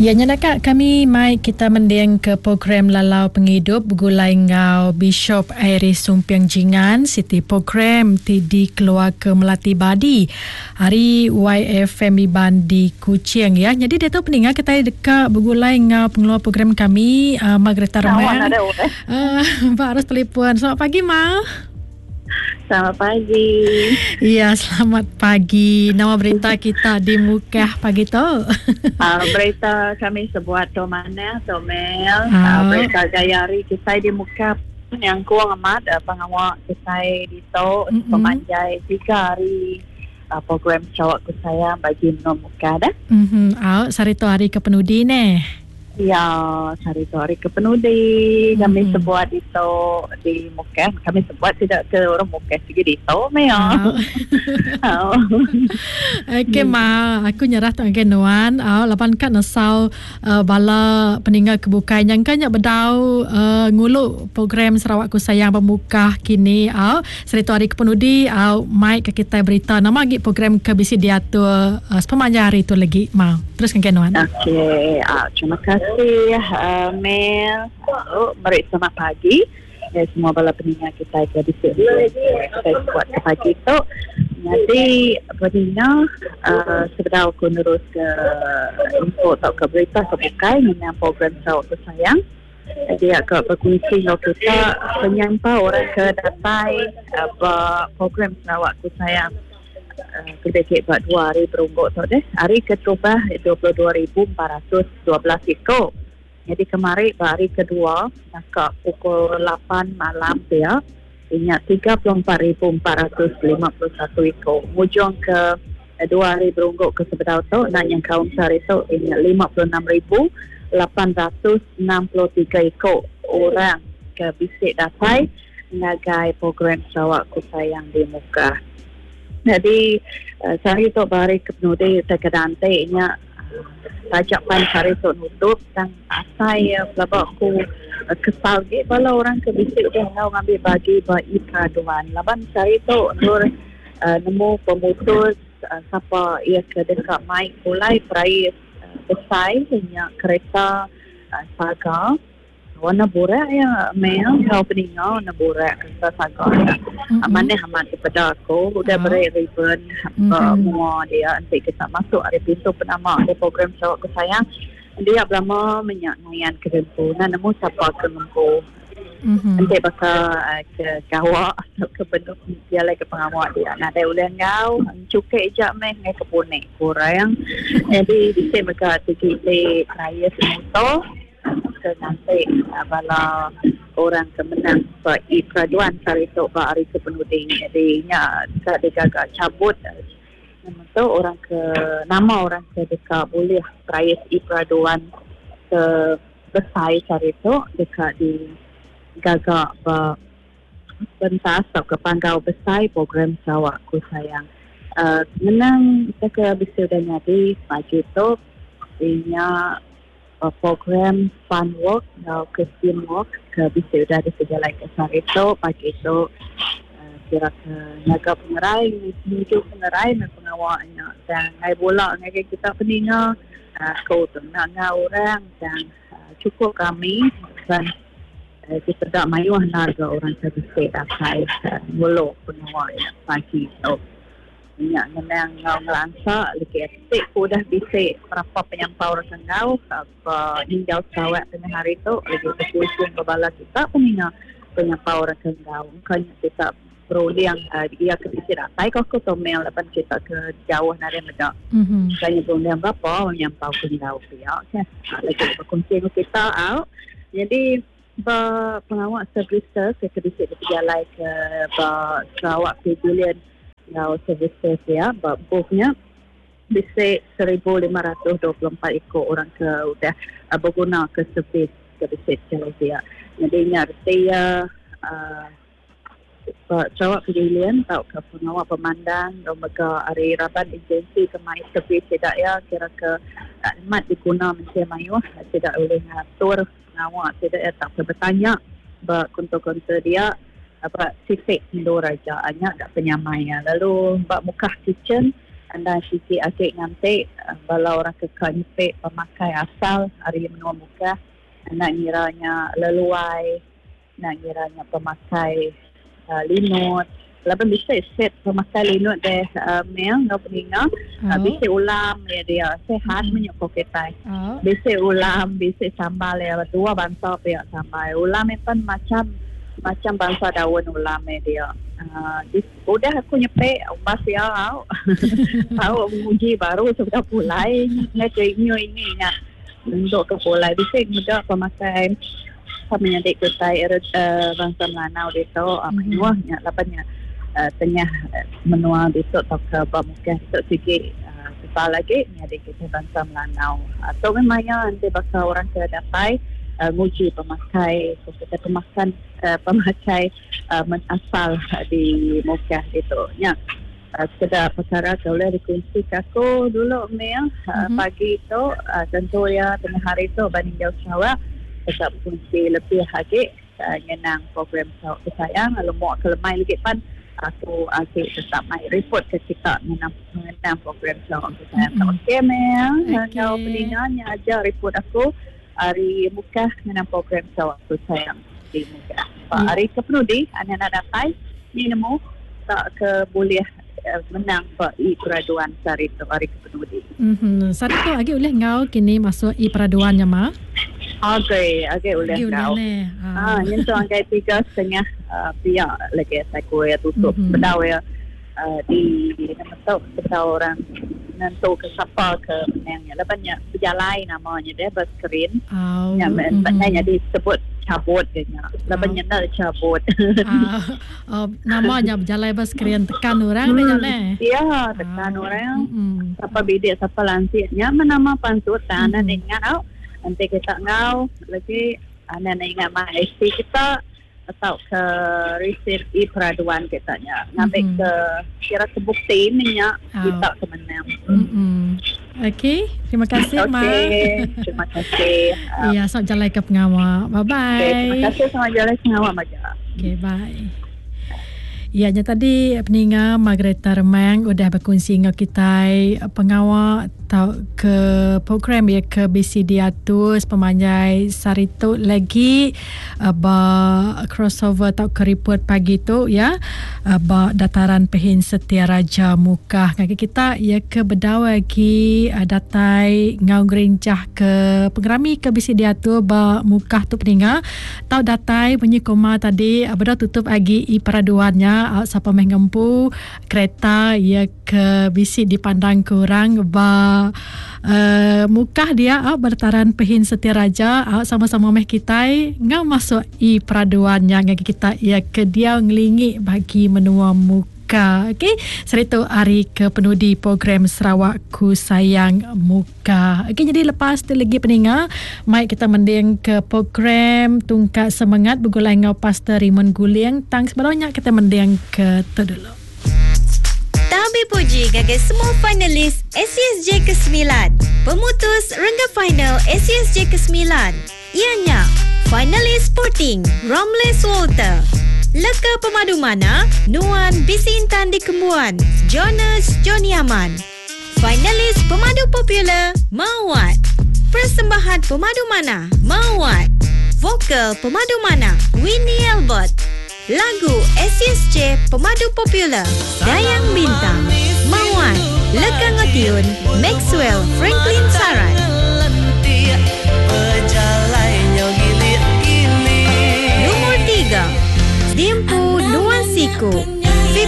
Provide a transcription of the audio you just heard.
Ya nya naka kami mai kita mending ke program Lalau Pengidup begulai enggau Bishop Iris Sumping Jingan siti program ti dikeluarka Melati Badi ari YFM Iban di Kuching ya. Nyadi diatu peninga kitai deka begulai enggau pengeluar program kami uh, Margareta Remang. Uh, ba arus telefon. Selamat pagi Ma. Selamat pagi. Ya, selamat pagi. Nama berita kita di Mukah pagi tu? Berita kami sebuat tu manah tu Mel. Berita gaya hari kitai di Mukah nyangkung amat pengawa kitai ditu sepemanjai tiga hari program Sarawak Ku Sayang bagi menua Mukah dah. Mhm. Au, sehari tu hari ke penudi neh. Ya, sehari tu hari ke penudi kami sebuat ditu di Mukah. Kami sebuat sida ke orang Mukah sigi ditu meh ya. Oh. Okey ma, aku nyerah tu ngagai nuan. Au laban ka nesau uh, bala peninggal ke bukai nyangka nya bedau uh, ngulu program Sarawak Ku Sayang ba Mukah kini. Au, sehari tu hari ke penudi au mai ke kitai berita nama agi program ke bisi diatur uh, sepemanjai hari tu legi ma. Terus ngagai nuan. Okey, terima kasih Mel. Lalu meri selamat pagi ngagai semua bala peninga kitai ke bisi kitai sebuat ke pagi tu. Nyadi peninga uhh sebedau aku nerus ke info tauka berita ke bukai ngenang program Sarawak Ku Sayang dia ka bekunsi enggau kita penyampau orang ke datai ba program Sarawak Ku Sayang. Kelebih agi ba dua hari berunggu tu deh. Hari keterubah 22,412 iku. Nyadi kemari ba hari kedua naka pukul lapan malam pia inya 34,451 iku. Ngujung ke dua hari berunggu ke sebedau tu enda nyengkaum sehari tu inya 56,863 iku orang ke bisi datai ngagai program Sarawak Ku Sayang di Mukah. Nyadi sehari tu ba hari kepenudi utai ke dianti nya taja pan sehari tu nutup tang asai iya pelaba ku kesal agi bala orang ke bisi udah enggau ngambi bagi ba e-peraduan laban sehari tu endur nemu pemutus sapa iya ke deka mai pulai perais besai nya kereta saga. Warna burak iya mel enggau peninga warna burak sereta saga nya. Manah amat dipeda aku udah beri ribbon ba mua dia enti kita masuk ari pintu penama ari program Sarawak Ku Sayang dia belama menya ngayan ke dempu enda nemu sapa ke ngempu. Enti baka ke gawa tauka benung bejalai ke pengawa dia nadai ulih enggau enchukek aja meh ngagai ke punik kurang. Nyadi bisi mega ti ti perais muto. Ke nganti bala orang ke menang ba e-peraduan sehari tu ba hari ke penudi. Nyadi nya deka digaga chabut nama tu orang ke nama orang ke deka bulih perais e-peraduan ke besai sehari tu deka digaga ba pentas tauka panggau besai program Sarawak Ku Sayang. uhh Ngenang ke bisi udah nyadi pagi tu inya Program Fun Walk enggau Christian Walk ke bisi udah dipejalaika sehari tu pagi tu kira ke nyaga pengerai nuju pengerai meh pengawa nya tang enggai bula ngagai kita peninga aku tu enda enggau orang tang chukup rami dan dipeda mayuh enda ga orang ke bisi datai ngulu pengawa nya pagi tu. Nya ngenang enggau ngelansa legi ti ku udah bisi berapa penyampau reka enggau ba ninjau Sarawak tengah hari tu legi bekunsi enggau bala kita peninga penyampau reka enggau engka nya kita berunding iya ke bisi datai ko aku tu mel laban kita ke jauh nadai meda. Engka nya berunding berapa penyampau ke enggau pia keh legi bekunsi enggau kita au. Nyadi ba pengawa services ke bisi dipejalai ke ba Sarawak Pavilion enggau services iya ba booth nya bisi 1524 iku orang ke udah begunaka servis ke bisi dijalai dia. Nyadi nya reti iya uhh ba Sarawak Pavilion tauka pengawa pemandang enggau mega ari raban agensi ke mai servis sida iya kira ke amat diguna mensia mayuh sida ulih ngatur pengawa sida iya tauka betanya ba kaunter-kaunter dia. Ba siti endur aja nya ga penyamai iya. Lalu ba Mukah Kitchen Enda sigi agi nganti bala orang ke ka nyepi pemakai asal ari menua Mukah enda ngira nya leluai enda ngira nya pemakai linut laban bisi set pemakai linut deh mel enggau peninga bisi ulam iya dia sihat meh nyukup kitai bisi ulam bisi sambal iya dua bansa pia sambal ulam iya pen macam macam bansa daun ulam iya dia Udah aku nyepi umbas iya au. Tau nguji baru sebedau pulai ngai ke inyu ini nya nyentuk ke pulai bisi meda pemakai menyadi kitai uh, bangsa Melanau ditu uh, mayuh nya laban nya uh, tengah menua ditu tauka ba Mukah ditu sigi uh, tebal agi nyadi kitai bangsa Melanau. Uh, tu meh maya enti baka orang ke datai uh, nguji pemakai kitai pemakan uh, pemakai asal di Mukah ditu. Nya sekeda pekara ke ulih dikunsika aku dulu mih pagi tu tentu iya tengah hari tu ba Ninjau Sarawak deka bekunsi lebih agi ngenang program Sarawak Kesayang lalu mua ke lemai lagi pan aku agi tetap mai report ke kita ngenang program Sarawak Kesayang. Okey mih enggau peninga nya aja report aku. Ari Mukah ngenang program Sarawak Sayang di Mukah. Ba hari ke penudi anak anak datai ni nemu tak ke bulih menang ba e peraduan sehari tu hari ke penudi. Mhm. Sehari tu agi ulih enggau kini masuk e peraduan nya ma? Agi, agi ulih enggau. Ha nyentuk ngagai 3.30 pia lagi asai ku iya tutup sebedau iya di nama tu sebedau orang nentu ke sapa ke menang nya laban nya bejalai nama nya deh ba skrin nya meh nya nyadi sebut cabut ke nya laban nya enda cabut. Nama nya bejalai ba skrin tekan orang deh nya neh. Ya tekan orang sapa bidik sapa lansik nya meh nama pansut tang anak enda ingat au enti kita enggau lagi anak enda ingat mai IC kita. Tauka resit e-peraduan kita nya ngambi ke kira ke bukti meh nya kita ke menang. Okey, terima kasih ma. Okey, terima kasih. Iya, selamat jalai ke pengawa. Bye bye. Okey, terima kasih selamat jalai pengawa maja. Okey, bye. Iya nya tadi peninga Margaretha Remang udah bekunsi enggau kitai pengawa tauka program iya ke bisi diatur sepemanjai sehari tu lagi ba crossover tauka report pagi tu ya ba Dataran Pehin Setia Raja Mukah ngagai kita iya ke bedau agi datai enggau ngerincah ke pengerami ke bisi diatur ba Mukah tu peninga. Tau datai munyi koma tadi bedau tutup agi i peraduan nya sapa meh ngempu kereta iya ke bisi dipandang ke orang ba uh, Mukah dia ba dataran Pehin Setia Raja sama-sama meh kitai enggau masuk i peraduan nya ngagai kita iya ke diau ngelingi bagi menua Mukah. Ka okey seritu hari ke penudi program Sarawak Ku Sayang Muka. Okey jadi lepas tu legi peninga mai kita mending ke program Tungkat Semengat begulai enggau Pastor Raymond Guling tang sebedau nya kita mending ke tu dulu. Tabi puji ngagai semua finalis ACSJ ke-sembilan. Pemutus renggat final ACSJ ke-sembilan. Iya nya, finalis Sporting, Romles Walter. Leka pemadu manah, nuan bisi intan dikembuan, Jonas Johnny Aman. Finalis pemadu popular, Mawat. Persembahan pemadu manah, Mawat. Vokal pemadu manah, Winnie Albert. Lagu ACSJ pemadu popular, Dayang Bintang, Mawat, Leka enggau tiun, Maxwell Franklin Sarat. Lumur tiga, Diempu Nuan Siku.